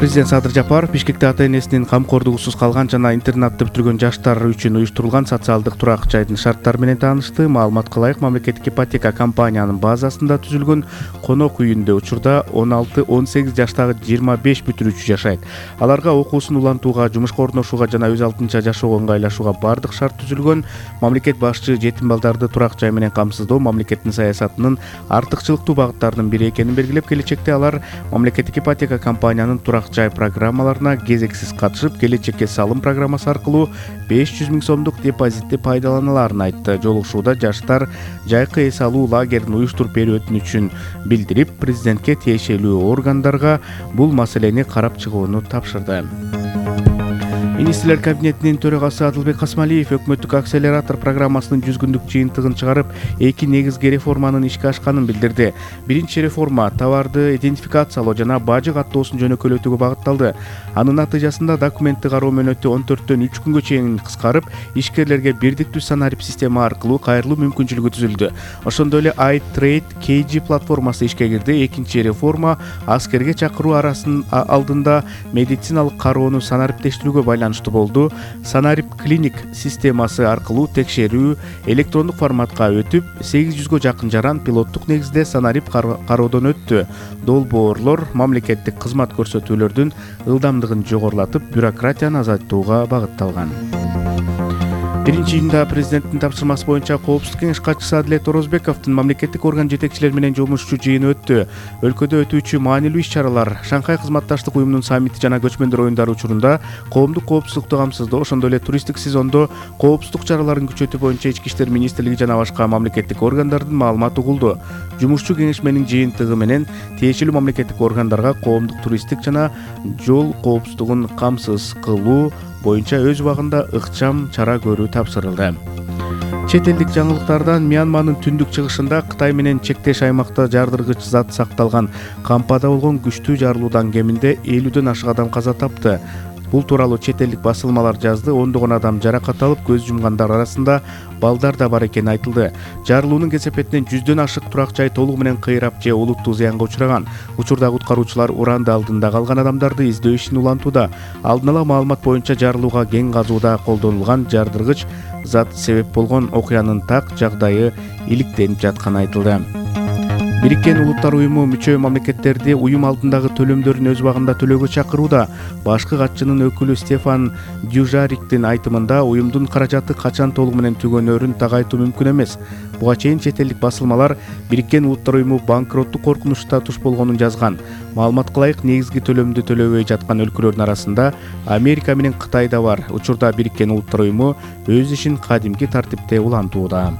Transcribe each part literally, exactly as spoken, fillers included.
Президент Садыр Жапаров Бишкекте ата-энесинин камкордугусуз калган жана интернатты бүтүргөн жаштар үчүн уюштурулган социалдык турак жайдын шарттары менен таанышты. Маалыматка ылайык, мамлекеттик ипотека компаниянын базасында түзүлгөн конок үйүндө учурда он алты он сегиз жаштагы жыйырма беш бүтүрүүчү жашайт. Аларга окуусун улантууга, жумушка орношууга жана өз алдынча жашоого ыңгайлашууга бардык шарт түзүлгөн. Мамлекет башчы жетим балдарды турак жай менен камсыздоо мамлекеттин саясатынын артыкчылыктуу багыттарынын бири экенин белгилеп, келечекте алар мамлекеттик ипотека компаниянын турак жай программаларына кезексиз катышып, келечекке салым программасы аркылуу беш жүз миң сомдук депозитти пайдаланаларын айтты. Жолугушууда жаштар жайкы эс алуу лагерин уюштуруп берүү өтүнүчүн билдирип, президентке тиешелүү органдарга бул маселени карап чыгууну тапшырды. Министрлер кабинетинин төрагасы Адылбек Касмалиев өкмөттүк акселератор программасынын жүз күндүк жыйынтыгын чыгарып, эки негизги реформанын ишке ашканын билдирди. Биринчи реформа товарды идентификациялоо жана бажы каттоосун жөнөкөйлөтүүгө багытталды. Анын натыйжасында документти кароо мөөнөтү он төрттөн үч күнгө чейин кыскарып, ишкерлерге бирдиктүү санарип система аркылуу кайрылуу мүмкүнчүлүгү түзүлдү. Ошондой эле iTrade кей джи платформасы ишке кирди. Экинчи реформа аскерге чакыруу арасын алдында медициналык кароону санариптештирүүгө байланыштуу болду. Санарип клиник системасы аркылуу текшерүү электрондук форматка өтүп, сегиз жүзгө жакын жаран пилоттук негизде санарип кароодон өттү. Долбоорлор мамлекеттик кызмат көрсөтүүлөрдүн ылдамдыгын жогорулатып, бюрократияны азайтууга багытталган. Биринчи июнда президенттин тапшырмасы боюнча Коопсуздук кеңеш катчысы Адилет Орозбековдун мамлекеттик орган жетекчилери менен жумушчу жыйыны өттү. Өлкөдө өтүүчү маанилүү иш-чаралар, Шанхай кызматташтык уюмунун саммити жана көчмөндөр оюндары учурунда коомдук коопсуздукту камсыздоо, ошондой эле туристтик сезондо коопсуздук чараларын күчөтүү боюнча Ички иштер министрлиги жана башка мамлекеттик органдардын маалыматы угулду. Жумушчу кеңешменин жыйынтыгы менен тиешелүү мамлекеттик органдарга коомдук туристтик жана жол коопсуздугун камсыз кылуу боюнча өз убагында ыкчам чара көрүү тапшырылды. Чет элдик жаңылыктардан Мьянманын түндүк чыгышында Кытай менен чектеш аймакта жардыргыч зат сакталган кампада болгон күчтүү жарылуудан кеминде элүүдөн ашык адам каза тапты. Бул тууралуу чет элдик басылмалар жазды. Ондогон адам жаракат алып, көз жумгандар арасында балдар да бар экени айтылды. Жарылуунун кесепетинен жүздөн ашык турак жай толугу менен кыйрап же олуттуу зыянга учураган. Учурда куткаруучулар уранды алдында калган адамдарды издөө ишин улантууда. Алдын ала маалымат боюнча жарылууга кең казууда колдонулган жардыргыч зат себеп болгон. Окуянын так жагдайы иликтенип жатканы айтылды. Бириккен Улуттар уюму мүчө мамлекеттерди уюм алдындагы төлөмдөрүн өз убагында төлөөгө чакырууда. Башкы катчынын өкүлү Стефан Дюжариктин айтымында, уюмдун каражаты качан толугу менен түгөнөрүн тагайтуу мүмкүн эмес. Буга чейин чет элдик басылмалар Бириккен Улуттар уюму банкроттук коркунучуна туш болгонун жазган. Маалыматка ылайык, негизги төлөмдү төлөбөй жаткан өлкөлөрдүн арасында Америка менен Кытай да бар. Учурда Бириккен Улуттар уюму өз ишин кадимки тартипте улантууда.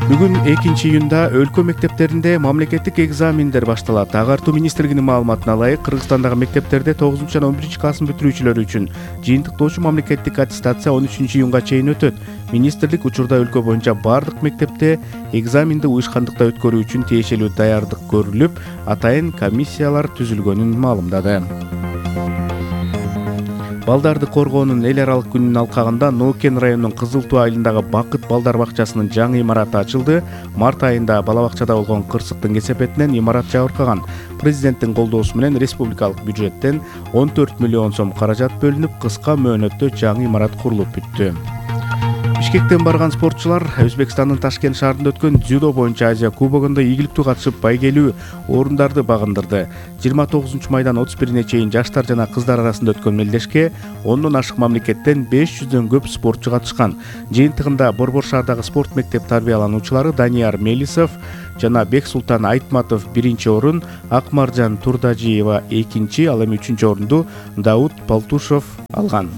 Бүгүн экинчи июнда өлкө мектептеринде мамлекеттик экзамендер башталат. Агартуу министрлигинин маалыматына ылайык, Кыргызстандагы мектептерде тогузунчу жана он биринчи класстын бүтүрүүчүлөрү үчүн жыйынтыктоочу мамлекеттик аттестация он үчүнчү июнга чейин өтөт. Министрлик учурда өлкө боюнча бардык мектепте экзаменди уюшкандыкта өткөрүү үчүн тиешелүү даярдык көрүлүп, атайын комиссиялар түзүлгөнүн маалымдады. Балдарды коргоонун эл аралык күнүнүн алкагында Нокен районунун Кызыл Туу айылындагы Бакыт балдар бакчасынын жаңы имараты ачылды. Март айында бала бакчада болгон кырсыктын кесепетинен имарат жабыркаган. Президенттин колдоосу менен республикалык бюджеттен он төрт миллион сом каражат бөлүнүп, кыска мөөнөттө жаңы имарат курулуп бүттү. Бишкектен барган спортчулар Өзбекстандын Ташкент шаарында өткөн дзюдо боюнча Азия кубогунда ийгиликтүү катышып, байгелүү орундарды багындырды. жыйырма тогузунчу майдан отуз бирине чейин жаштар жана кыздар арасында өткөн мелдешке ондон ашык мамлекеттен беш жүздөн көп спортчу катышкан. Жыйынтыгында Борбор шаардагы спорт мектеп тарбиялануучулары Данияр Мелисов жана Бексултан Айтматов биринчи орун, Акмаржан Турдажиева экинчи, ал эми үчүнчү орунду Дауд Палтушов алган.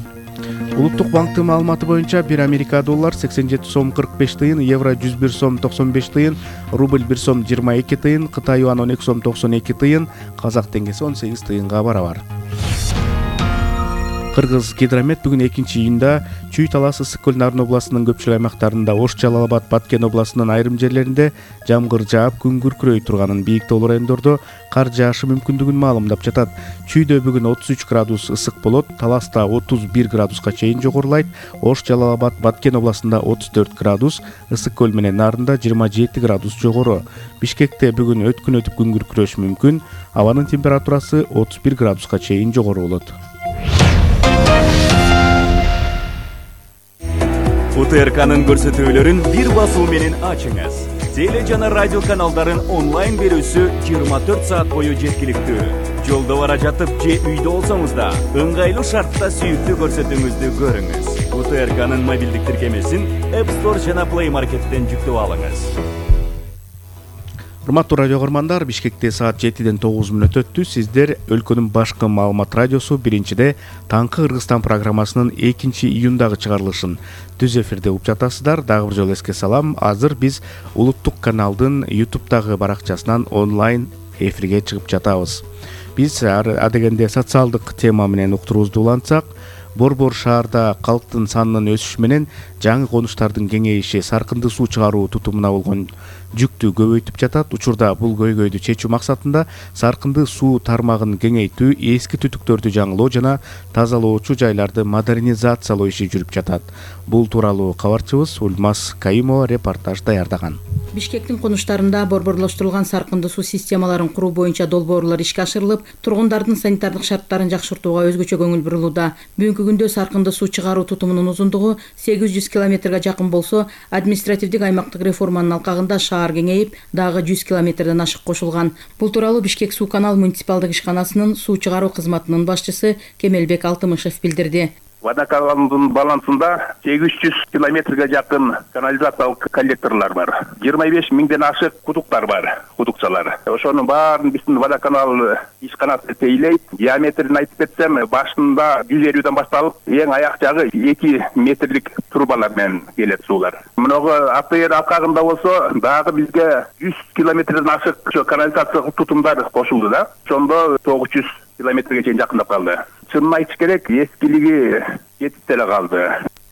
Улуттук банктын маалыматы боюнча бир Америка доллар сексен жети сом кырк беш тыйын, евро жүз бир сом токсон беш тыйын, рубль бир сом жыйырма эки тыйын, Кытай юан он эки сом токсон эки тыйын, казак теңгеси он сегиз тыйынга барабар. Кыргыз Гидромет бүгүн экинчи июнда Чүй Талас Ысык көл Нарын областынын көпчүлүк аймактарында, Ош Жалал Абад Баткен областынын айрым жерлеринде жамгыр жаап, күн күркүрөй турганын, бийик тоолуу райондордо кар жаашы мүмкүндүгүн маалымдап жатат. Чүйдө бүгүн отуз үч градус ысык болот, Таласта отуз бир градуска чейин жогорулайт. Ош Жалал Абад Баткен областында отуз төрт градус, Ысык көл менен Нарында жыйырма жети градус жогору. Бишкекте бүгүн өткүн өтүп күн күркүрөшү мүмкүн. Абанын температурасы отуз бир градуска чейин жогору болот. УТРКнын көрсөтүүлөрүн бир басуу менен ачыңыз. Теле жана радио каналдарын онлайн берүүсү жыйырма төрт саат бою жеткиликтүү. Жолдо бара жатып же үйдө болсоңуз да ыңгайлуу шартта сүйүктүү көрсөтүүңүздү көрүңүз. УТРКнын мобилдик тиркемесин App Store жана Play Market'тен жүктөп алыңыз. Урматтуу радио көрмандар, Бишкекте саат жетиден тогуз мүнөт өттү. Сиздер өлкөнүн башкы маалымат радиосу биринчиде Таңкы Кыргызстан программасынын экинчи июндагы чыгарылышын түз эфирде угуп жатасыздар. Дагы бир жолу эске салам. Азыр биз улуттук каналдын ютубтагы баракчасынан онлайн эфирге чыгып жатабыз. Биз адегенде социалдык тема менен уктуруубузду улантсак, Борбор шаарда калктын санынын өсүшү менен жаңы конуштардын кеңейиши саркынды суу чыгаруу тутумуна болгон жүктү көбөйтүп жатат. Учурда бул көйгөйдү чечүү максатында саркынды суу тармагын кеңейтүү, эски түтүктөрдү жаңылоо жана тазалоочу жайларды модернизациялоо иши жүрүп жатат. Бул тууралуу кабарчыбыз Ульмаз Кайымова репортаж даярдаган. Бишкектин конуштарында борборлоштурулган саркынды суу системаларын куруу боюнча долбоорлор ишке ашырылып, тургундардын санитардык шарттарын жакшыртууга өзгөчө көңүл бурулууда. Бүгүнкү күндө саркынды суу чыгаруу тутумунун узундугу сегиз жүз километрге жакын болсо, административдик аймактык реформанын алкагында шаар кеңейип, дагы жүз километрден ашык кошулган. Бул тууралуу Бишкек суу канал муниципалдык ишканасынын суу чыгаруу кызматынын башчысы Кемелбек Алтымышев билдирди. Водоканалдын балансында сегиз жүз километрге жакын канализациялык коллекторлор бар. жыйырма беш миңден ашык кудуктар бар, кудукчалар. Ошонун баарын биздин водоканал ишканасы тейлейт. Диаметрин айтып кетсем, башында жүз элүүдөн башталып, эң аяк жагы эки метрлик трубалар менен келет суулар. Мыногу АТР алкагында болсо, дагы бизге жүз километрден ашык канализациялык тутумдар кошулду да. Ошондо тогуз жүз километрге чейин жакындап калды. Чынын айтыш керек, эскилиги жетип деле калды.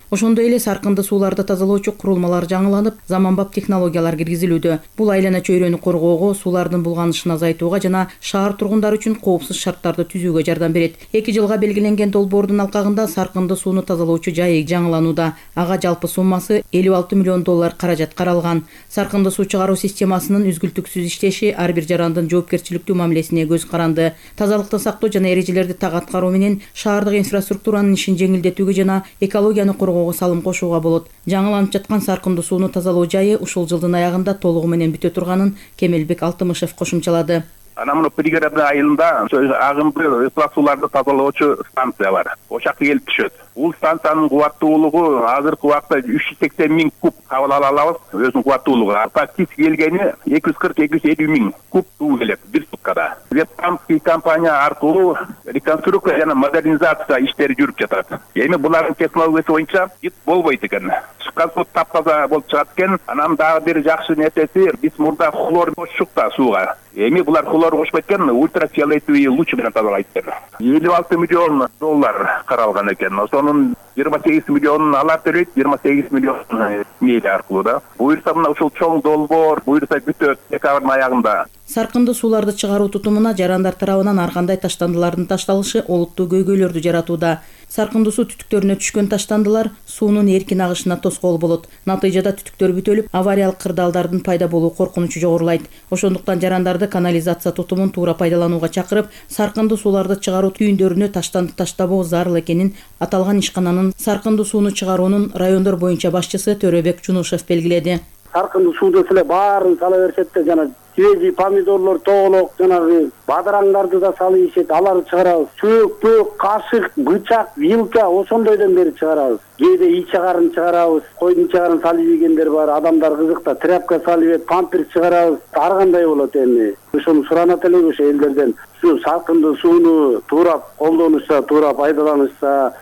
Ошондой эле саркынды сууларды тазалоочу курулмалар жаңыланып, заманбап технологиялар киргизилүүдө. Бул айлана чөйрөнү коргоого, суулардын булганышын азайтууга жана шаар тургундары үчүн коопсуз шарттарды түзүүгө жардам берет. эки жылга белгиленген долбоордун алкагында саркынды сууну тазалоочу жайы жаңыланууда. Ага жалпы суммасы элүү алты миллион доллар каражат каралган. Саркынды суу чыгаруу системасынын үзгүлтүксүз иштеши ар бир жарандын жоопкерчиликтүү мамилесине көз каранды. Тазалыкты сактоо жана эрежелерди так аткаруу менен шаардык инфраструктуранын ишин жеңилдетүүгө жана экологияны коргоого салым кошууга болот. Жаңыланып жаткан саркынды сууну тазалоо жайы ушул жылдын аягында толугу менен бүтө турганын Кемелбек Алтымышев кошумчалады. Ана мына пригородный айылында агымды ысырап сууларды тазалоочу станция бар. Ошол жакка келип түшөт. Бул станциянын кубаттуулугу азыркы убакта үч жүз сексен миң куб кабыл ала алабыз. Өзүнүн кубаттуулугу фактически келгени эки жүз кырк эки жүз элүү миң куб суу келет бир суткада. Вебкамский компания аркылуу реконструкция жана модернизация иштери жүрүп жатат. Эми булардын технологиясы боюнча ит болбойт экен. Чыккан суу таптаза болуп чыгат экен. Анан дагы бир жакшы нерсеси, биз мурда хлор кошчук да сууга. Эми булар хлор кошпойт экен, ультрафиолетовый луч менен тазалайт экен. элүү алты миллион доллар каралган экен. Ошонун жыйырма сегиз миллионун алар төлөйт, жыйырма сегиз миллион мейли аркылуу да. Буюрса мына ушул чоң долбоор, буюрса бүтөт декабрдын аягында. Саркынды сууларды чыгаруу тутумуна жарандар тарабынан ар кандай таштандылардын ташталышы олуттуу көйгөйлөрдү жаратууда. Саркынды суу түтүктөрүнө түшкөн таштандылар суунун эркин агышына тоскоол болот. Натыйжада түтүктөр бүтөлүп, авариялык кырдаалдардын пайда болуу коркунучу жогорулайт. Ошондуктан жарандарды канализация тутумун туура пайдаланууга чакырып, саркынды сууларды чыгаруу түйүндөрүнө таштанды таштабоо зарыл экенин аталган ишкананын саркынды сууну чыгаруунун райондор боюнча башчысы Төрөбек Жунушев белгиледи. Саркынды суу деле баарын сала беришет да, жана свежий помидорлор, тоолок, жанагы бадыраңдарды да салып ийишет, аларды чыгарабыз. Чөөк, кашык, бычак, вилка ошондойдон бери чыгарабыз. Кээде ий чыгарын чыгарабыз, койдун чыгарын салып ийгендер бар, адамдар кызыкта тряпка салып, памперс чыгарабыз. Ар кандай болот эми. Ошону суранат элек ошо элдерден. Ушу саркынды сууну туура колдонушса, туура пайдаланышса,